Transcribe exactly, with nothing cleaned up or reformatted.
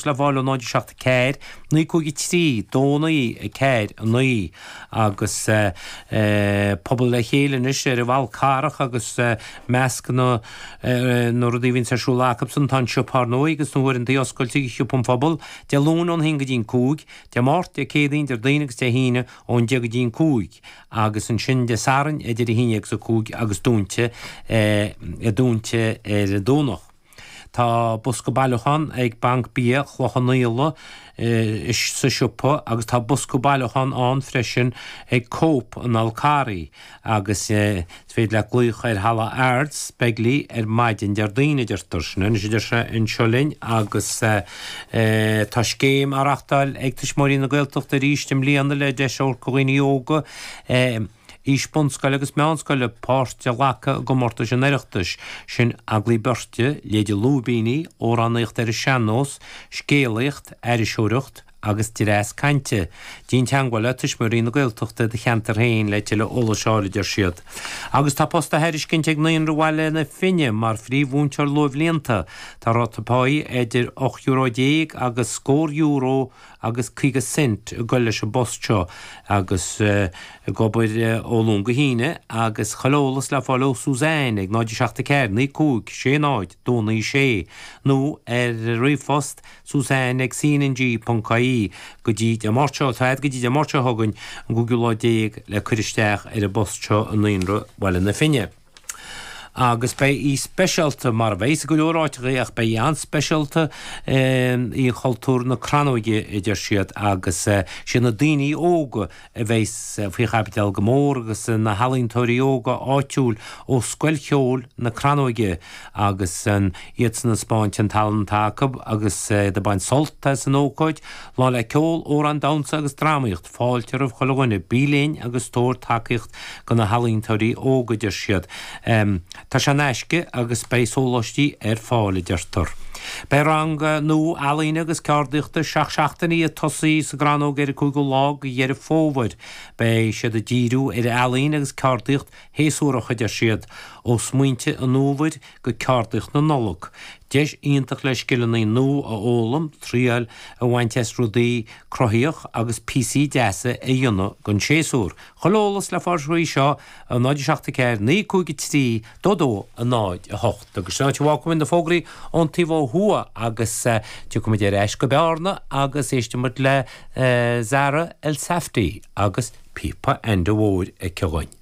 le fáil náid seacht ceathair, naoi cúig trí dó naoi a ceathair a naoi agus pobal le chéile anois ar an bhFál Carrach agus measc na na rudaí a bhíonns ar siúl acusan tá an siopa ar ndóigh agus na huaireanta oscailte ag siopa an phobail Dé Luain ón haon go dtí an cúig, Dé Máirt, Dé Céadaoin, Déardaoin agus Dé hAoine ón deich go dtí an cúig agus ansin Dé Sathairn idir a haon déag agus a cúig agus dúnta dúnta ar an Domhnach. Tá bosca bailiúchán ag Banc Bia Chloich Cheann Fhaola sa siopa agus tá bosca bailiúchán ann freisin ag Cope an Fháil Charraigh agus is féidir leat glaoch ar Halla Ards Begley ar maidin Déardaoin a deirtear. Sin anois a deir sé anseo linn agus tá scéim á reachtáil ag Tuismitheoirí na Gaeltachta arís i mbliana le deis a thabhairt do dhaoine óga aois bunscoile agus meánscoile páirt a ghlacadh i gcomórtais an Oireachtais, sin agallaimh beirte, léide lúibíní, amhránaíocht ar an sean-nós, scéalaíocht, aithriseoireacht agus dreas cainte. Déan teagmháil le Tuismitheoirí na Gaeltachta i do cheantar féin le tuilleadh eolais a fháil, a deir siad. Agus tá post á thairiscint ag Naíonra Bhaile na Finne mar phríomh-mhúinteoir luathbhlianta. Tá ráta páí idir ocht euro déag agus scór euro agus caoga cent ag dul leis an bpost seo agus ag obair ó Luan go hAoine agus chuile eolas le fáil ó Suzanne ag náid seacht a ceathair naoi cúig sé náid dó naoi sé nó ar ríomhphost Suzanne ag cng ponc ie go dtí Dé Máirt seo, tá go dtí Dé Máirt seo chugainn an cúigiú lá déag le cur isteach ar an bpost seo i Naíonra Bhaile na Finne. Agus beidh í speisialta, mar a bheidh i go leor áiteacha ach beidh í an-speisialta i Chultúr na Crannóige, a deir siad, agus siad na daoine óga a bheidh faoi chaibidil go mór agus na healaíontóirí óga áitiúil ó Scoil Cheoil na Crannóige agus iadsan ag spáint an tallann atá acu agus iad ag baint sult as an ócáid, lá le ceol, amhráin, damhsa agus drámaíocht, fáilte roimh chuile dhuine, bí linn agus tabhair tacaíocht do na healaíontóirí óga, a deir siad. Tá sé in aisce agus beidh sóláistí ar fáil, a deirtear. Beidh rang nua ealaíne agus ceardaíochta seacht seachtainí ag tosaí sa gCrannóg ar an cúigiú lá de Dheireadh Fómhair. Beidh siad ag díriú ar ealaín agus ceardaíocht shéasúrach, a deir siad, ó smaointe an fhómhair go ceardaíocht na Nollag. Deis iontach le scileanna nua a fhoghlaim, triail a bhaint as rudaí cruthaíoch agus píosaí deasa a dhéanamh don séasúr. Chuile eolas le fáil faoi seo a náid seacht a ceathair naoi cúig a trí dó dó a náid a hocht. Agus sin áit a bhfágfaimid na fógraí ón taobh ó thuaidh agus tiocfaimid ar ais go Bearna agus éistfimid le Zara Elsafty agus píopa Enda Mhóir aici dhúinn.